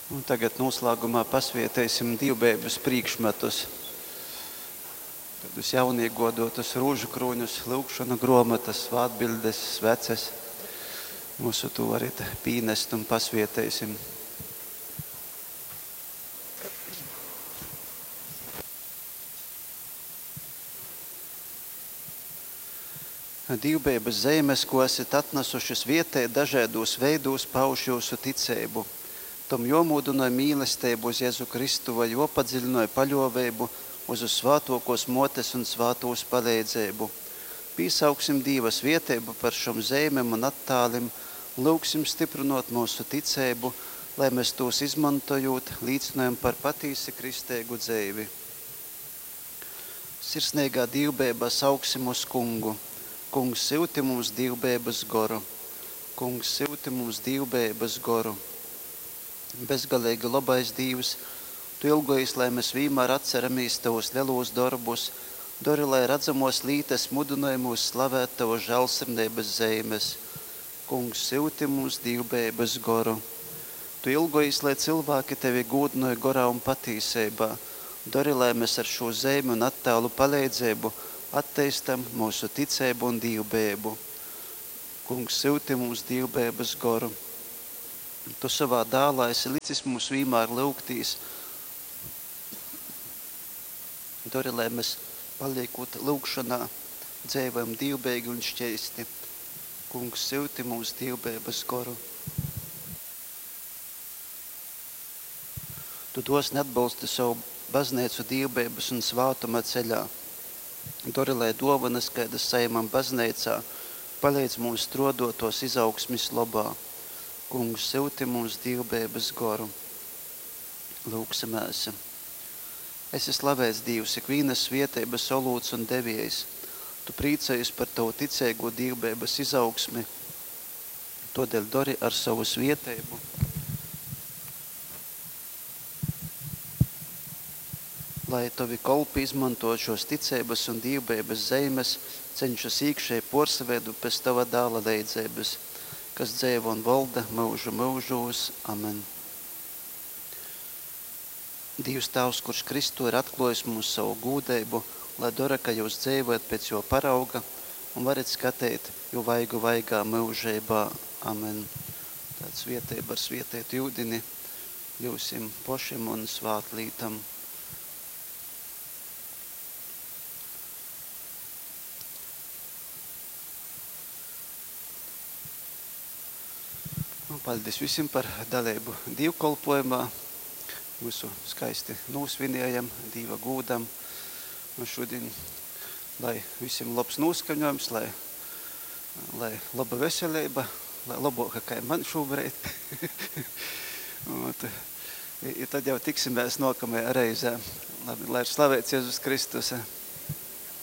Un tagad noslēgumā pasvieteisim dīvbeibas prīkšmetus. Tādus jauniegodotus rūžu krūņus, lyugšonu gruomotas, svātbildes, sveces. Mūsu to varit pīnest un pasvieteisim. Dīvbeibas zeimes, ko esat atnesuši svietēt, dažādos veidūs pauž jūsu ticeibu. Tom jomūdynoj mīlestību uz Jezu Kristu vai jopadziļinoj paļōveibu uz uz svātōkōs mōtes un svātūs paleidzeibu. Pīsauksim Dīva svieteibu par šom zeimem un attālim un lyugsim styprynōt myusu ticeibu, lai mēs tos izmantojot, līcynojam par patīsi kristeigu dzeivi. Sirsneigā dīvbeibā sauksim uz kungu. Kungs, syuti mums dīvbeibas goru. Kungs, syuti mums dīvbeibas goru. Bezgaleigi lobais Dīvs, Tu ilgojies, lai mēs vienmēr atceramies Tavus lielūs darbus, dori, lai redzamos lītas mudinoj mūs slavēt Tavu žēlsirdības zeimes. Kungs, syuti mums dīvbeibas goru. Tu ilgojies, lai cilvēki Tevi gūdinoj gorā un patīseibā. Dori, lai mēs ar šo zeimi un attēlu palīdzību atteistam mūsu ticību un dīvbeibu. Kungs, syuti mums dīvbeibas goru. Tu savā dālā esi licis mums vienmēr lūgtīs. Dori, lai mēs paliekot lūgšanā, dzīvojam dīvbeigi un šķeisti. Kungs, syuti mums dīvbeibas goru. Tu dosni atbalsti savu baznīcu dīvbeibas un svātuma ceļā. Dori, lai dovanas, kādas saimam baznīcā, palīdz mums strodot tos izaugsmis lobā. Kungs, syuti mums dīvbeibas goru. Lūgsimēs. Esi slavēts Dīvs, ikvīnas svietības olūts un deviejs. Tu priecājies par tavu ticīgo dīvbeibas izaugsmi. Todēļ dori ar savu svietēbu. Lai tavi kolpi izmanto šos ticības un dīvbeibas zeimes, cenšas iekšēji porsaveidu pēc tava dāla leidzības, kas dzeivo un valda mūžu mūžos. Amen. Dievs Tēvs, kurš Kristu ir atklājis mums savu gūdību, lai dara, ka jūs dzīvojat pēc jo parauga un varat skatīt jo vaigu vaigā mūžībā. Amen. Tāds svietēba ar svietētu jūdini jūsim pošim un svātlītam. Nu, paldies visiem par dalību dievkalpojumā. Visu skaisti nosvinējam Dieva gūdam. Un šodien, lai visiem labs noskaņojums, lai laba veselība, lai labāka kā man šobrīd. Un tad jau tiksimies nākamajā reizē. Labi, lai ir slavēts Jēzus Kristus.